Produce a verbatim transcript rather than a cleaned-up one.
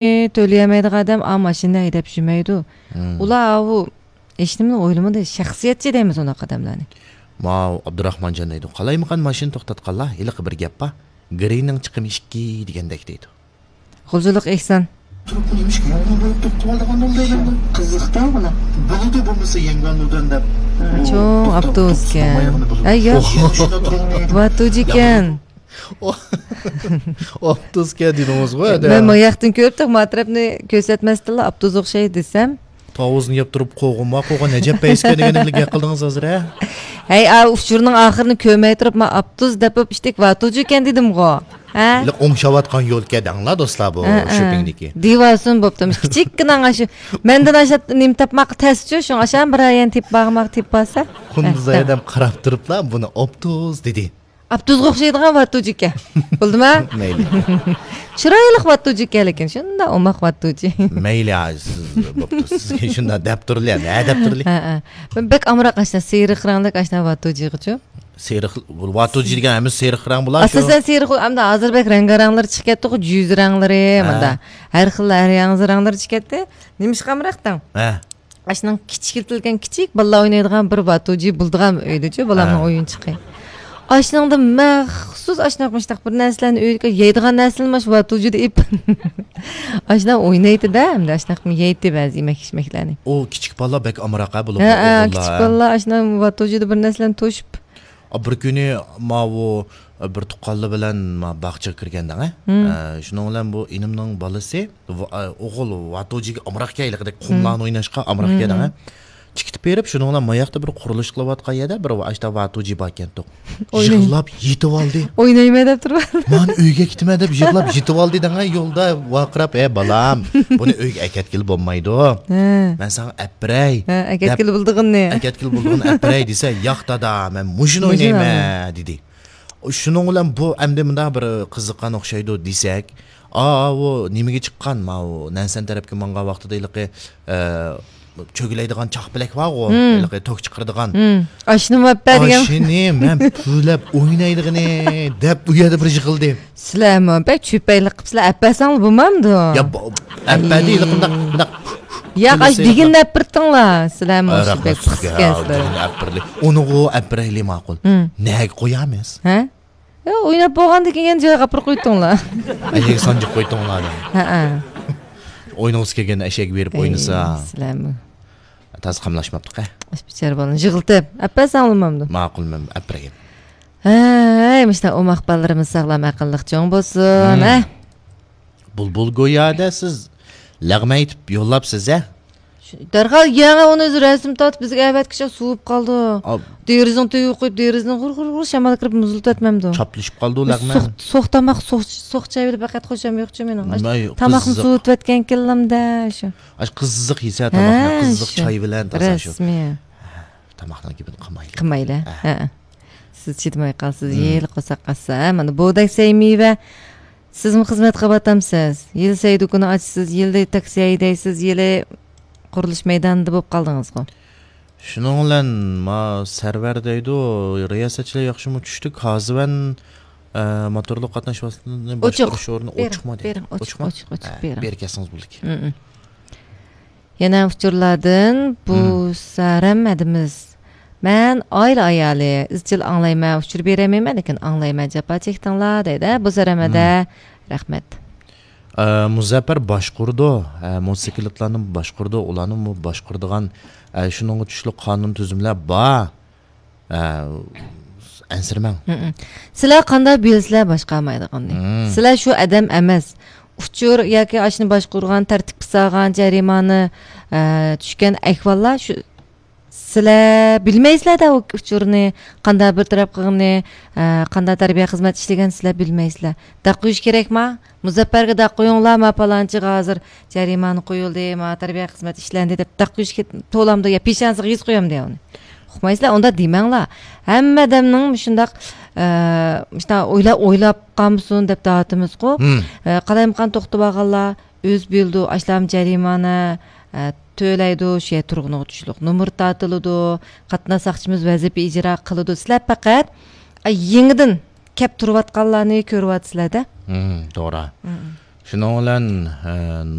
تۆلىيەلمەيدىغان ئادەم ئا ماشىنىنى ھەيدەپ يۈرمەيدۇ. مم. ئۇلار ئاۋۇ ھېچنېمىنى ئويلىمىدى، شەخسىيەتچى دەيمىز ئۇنداق ئادەملەرنى. ماۋۇ ئابدۇراخمانجان دەيدۇ، قالايمىقان ماشىنا توختاتقانلار ھېلىقى بىر گەپ بار، گىرىنىڭ چىقىمى ئىككى دېگەندەك دەيدۇ. غۇلجىلىق ئېھسان. تۇرۇپ نېمىشقا يەڭگىن بولۇپ توختىۋالىدىغان بولدى ئەمدى؟ قىزىق-دە بۇلار. بولىدۇ، بولمىسا يەڭگەن بولدى دەپ. چوڭ ئاپتوبۇسكەن. ئەي، ياق. ۋاتۇجىكەن. ئاپتوبۇسكەن دېدىڭىزغۇ، ھەدە. مەن ماياقتىن كۆرۈپ تۇرۇپ، ما تەرەپنى كۆرسەتمەستىنلا ئاپتوبۇس ئوخشايدۇ دېسەم. تاۋۇزنى يەپ تۇرۇپ، قوغۇن ما قوغۇن، ئەجەب پەيسىكەن دېگەن بىلەن گەپ قىلدىڭىز ھازىر، ھە؟ ھەي، ئا، ئۇچۇرنىڭ ئاخىرىنى كۆرمەي تۇرۇپ، ما ئاپتوبۇس دەپ بولۇپ ئىشتەك ۋاتۇجىكەن دېدىمغۇ. ھە؟ ئوڭشاۋاتقان يول كەدەڭلا، دوستلار، بۇ ھە، ھە. شوپىڭدىكى. دېۋالسۇن بوپتۇ. كىچىككىنە ئاشۇ. مەندىن ئاشۇ نېمە تاپماققا تەسچۇ، شۇڭا ئاشان بىر يەرنى تېپىپ بارماق تېپىپ بارسا. قۇندۇز ھە، ئادەم قاراپ تۇرۇپلا، بۇنى ئوپتۇز دېدى. ئاپتوبۇسقا ئوخشايدىغان ۋاتۇجىكەن. بولدىما؟ مەيلى. چىرايلىق ۋاتۇجىكەن، لېكىن شۇنداق ئوماق ۋاتۇجى. مەيلى، ھە، سىز بوپتۇ. سىزگە شۇنداق دەپ تۇرلى، ھە، دەپ تۇرلى. ھە، ھە. بەك ئامراق ئاشنا، سېرىق رەڭلىك ئاشنا ۋاتۇجىغىچۇ. سېرىق، ۋاتۇجى دېگەن ھەممىسى سېرىق رەڭ بولار شۇ. ئاساسەن سېرىق، ئەمدى ھازىر بەك رەڭگارەڭلىرى چىقىپ كەتتىغۇ، جۈز رەڭلىرى، ھە. مۇندا. ھەر خىل، ھەر ياڭزا رەڭلىرى چىقىپ كەتتى. نېمىشقا ئامراقتىڭ؟ ھە. ئاشۇنىڭ كىچىكلىتىلگەن كىچىك بالىلار ئوينايدىغان بىر ۋاتۇجى بولىدىغان ئۆيدىچۇ، بالامنىڭ ھە. ئويۇنچۇقى. ئاشۇنىڭدا مەخسۇس ئاشۇنداق مۇشۇنداق بىر نەرسىلەرنى ئۆيگە يەيدىغان نەرسىلەرنى مانا شۇ ۋاتۇجىدا ئېلىپ، ئاشۇنداق ئوينايتتى-دە، ئەمدى ئاشۇنداق يەيتتى بەزى يېمەك-ئىچمەكلەرنى. ئۇ كىچىك بالىلار بەك ئامراق ھە بۇلار، ھە، ھە، ئوغۇللار. كىچىك بالىلار ئاشۇنداق ۋاتۇجىدا بىر نەرسىلەرنى توشۇپ. ئا، بىر كۈنى ماۋۇ، ئا، بىر تۇغقانلار بىلەن ما باغچىغا كىرگەندەڭ، ھە؟ مم. ئە، شۇنىڭ بىلەن بۇ ئىنىمنىڭ بالىسى، ۋا-، ئا، ئوغۇل ۋاتۇجىگە ئامراق كەيلىقىدەك قۇملارنى مم. ئويناشقا ئامراق مم، كەيدەڭ، ھە؟ مم. چىقىپ بېرىپ، شۇنىڭ بىلەن ماياقتا بىر قۇرۇلۇش قىلىۋاتقان يەردە بىر ئاشتا ۋاتۇجى باركەنتۇق. ئويناي-، يىغلاپ يېتىۋالدى. ئوينايمەن دەپ تۇرۇپ. مانا ئۆيگە كېتىمەن دەپ يىغلاپ يېتىۋالدى دەڭە، يولدا ۋارقىراپ، ھە بالام، بۇنى ئۆيگە ئەكەتكىلى بولمايدۇ. ھە. مەن ساڭا ئەپ بېرەي ھە، دەپ، ئەكەتكىلى بولىدىغىنىنى. ئەكەتكىلى بولىدىغىنىنى ئەپ بېرەي دېسە، ياق دادا، مەن مۇشۇنى مۇشۇنى ئوينايمەن ئوينايمەن دېدى. شۇنىڭ بىلەن بۇ ئەمدى مۇنداق بىر قىزىققان ئوخشايدۇ دېسەك، ئاۋۇ نېمىگە چىققان، ماۋۇ نەنسەن تەرەپكە ماڭغان ۋاقتىدا ھېلىقى، ئە، چۆگىلەيدىغان چاقپەلەك بارغۇ، مم. ھېلىقى توك چىقىرىدىغان. مم. ئاشۇنىمۇ ئەپپە دېگەن. ئاشۇنى مەن پۈۋلەپ ئوينايدىغىنى دەپ ئۇ يەردە بىر يىغىلدى. سىلەرمۇ بەك چۆپەيلىك قىلىپسىلەر، ئەپەرسەڭلار بولمامدۇ؟ يا، بۇ، ئەپەردى، ھېلىقى مۇنداق، مۇنداق ياق، ئاشۇ دېگىنىنى ئەپىرتىڭلار. سىلەرمۇ ئاشۇ بەك پىس ئىكەنسىلەر. دېگىنىنى ئەپىرلى. ئۇنىغۇ ئەپىرەيلى ماقۇل. ھىم. نەگە قويامىز؟ ھە؟ يا، ئويناپ بولغاندىن كېيىن يەنە جايغا ئاپىرىپ قويدۇڭلار. ئەشەگە سانجىپ قويدۇڭلار. ھەئە. ئوينىغۇسى كەلگەن ئەشەگە بېرىپ ئەي، ئوينىسا. سىلەرمۇ. تازا قاملاشماپتۇق، ھە؟ ئاش بىچارە بالىنى يىغلىتىپ، ئەپەرسەڭلىمامدۇ؟ ماقۇل، مەن ئەپىرەيلى. ھەي، مۇشۇنداق ئوماق بالىلىرىمىز ساغلام، ئەقىللىق چوڭ بولسۇن، ھە؟ بۇلبۇل گويادا سىز لەغمە ئېيتىپ يوللاپسىز، ھە؟ شۇ، دەرھال يەڭ ئۇنى رەسىم تارتىپ بىزگە ئەۋەتكۈچە سوۋۇپ قالدى. دېرىزىنىڭ تۈۋىگە قويۇپ، دېرىزىنى غۇر، غۇر، غۇر شامال كىرىپ مۇزلىتىۋەتمەمدۇ؟ چاپلىشىپ قالدى لەغمە. سوق، سوق تاماق، سوق، سوق چاي بىلەن بەقەت خوشام يوقچۇ مېنىڭ. تاماقنى سوۋۇتۇۋەتكەنكەنلىمدە شۇ. ئاش قىزىق يېسە تاماقنى، ھە، قىزىق شۇ. چاي بىلەن تازا شۇ. رەسمىي. تاماقنىڭ گېپىنى قىلمايلى. قىلمايلى. ھە. ھە. سىز چىدىماي قالسىز، ھىم. يىل قورساق ئاچسا، ھە، مانا بۇغداك سەي مېۋە. سىزمۇ خىزمەت قىلىۋاتامسىز؟ يىل سەي دۇكىنى ئاچىسىز، يىلى تاكسى ھەيدەيسىز، يىلى قۇرۇلۇش مەيدانىدا بولۇپ قالدىڭىزغۇ. شۇنىڭ بىلەن ما سەرۋەر دەيدۇ، رىياسەتچىلەر ياخشىمۇ چۈشتۇك، كازىۋەن، ئە، موتورلۇق قاتناش ۋاسىتىلىرىنى باشقۇرۇش ئورنى ئوچۇقما دەيدۇ. بېرىڭ، ئوچۇق، ئوچۇق، ئوچۇق، ھە، بېرىڭ. بېرىپ كەلسىڭىز بولىدىكەن. ھىم، ھىم. يەنە ئۇچۇرلاردىن، بۇ مم. سارەم ھەدىمىز. مەن ئائىلە ئايالى، ئىزچىل ئاڭلايمەن، ئۇچۇر بېرەلمەيمەن، لېكىن ئاڭلايمەن، جاپا چەكتىڭلار، دەيدۇ. بۇ سارەم ھەدە، مم. رەھمەت. ئە، مۇزەپپەر باشقۇرىدۇ، ئە، موتوسىكلىتلارنى باشقۇرىدۇ، ئۇلارنىمۇ باشقۇرىدىغان، ئە، شۇنىڭغا تۇشلۇق قانۇن تۈزۈملەر بار. ئە، ئەنسىرىمەڭ. مم. سىلەر قانداق بىلىسىلەر باشقارمايدىغاننى؟ مم. سىلەر شۇ ئادەم ئەمەس. ئۇچۇر ياكى ئاشۇنى باشقۇرغان، تەرتىپكە سالغان، جەرىمانە، ئە، چۈشكەن ئەھۋاللار شۇ. سىلەر بىلمەيسىلەر-دە ئۇ ئۇچۇرنى، قانداق بىر تەرەپ قىلغىنى، ئە، قانداق تەربىيە خىزمەت ئىشلىگەن سىلەر بىلمەيسىلەر. داق قويۇش كېرەكما؟ مۇزەپپەرگە داق قويۇڭلار، ما پالانچىغا ھازىر جەرىمانە قويۇلدى، ما تەربىيە خىزمەت ئىشلەندى دەپ داق قويۇش كېت-، تولامدۇ يا پېشانىسىغا يېزىپ قويامدۇ يا ئۇنى؟ ئۇقمايسىلەر، ئۇنداق دېمەڭلار. ھەممە ئادەمنىڭ مۇشۇنداق، ئە، مۇشۇنداق ئويلا-، ئويلاپ قالمىسۇن دەپ دەۋاتىمىزغۇ. مم. ئە، قالايمىقان توختىۋالغانلار ئۆزى بىلىدۇ، ئاشۇلارمۇ جەرىمانە، ئە، تۆلەيدۇ، شۇ يەر تۇرغىنىغا تۇشلۇق نومۇر تارتىلىدۇ، قاتناش ساقچىمىز ۋەزىپە ئىجرا قىلىدۇ. سىلەر پەقەت، ئە، يېڭىدىن كەپ تۇرۇۋاتقانلارنى كۆرۈۋاتىسىلەر-دە. مم، توغرا. مم. شۇنىڭ بىلەن، ئە،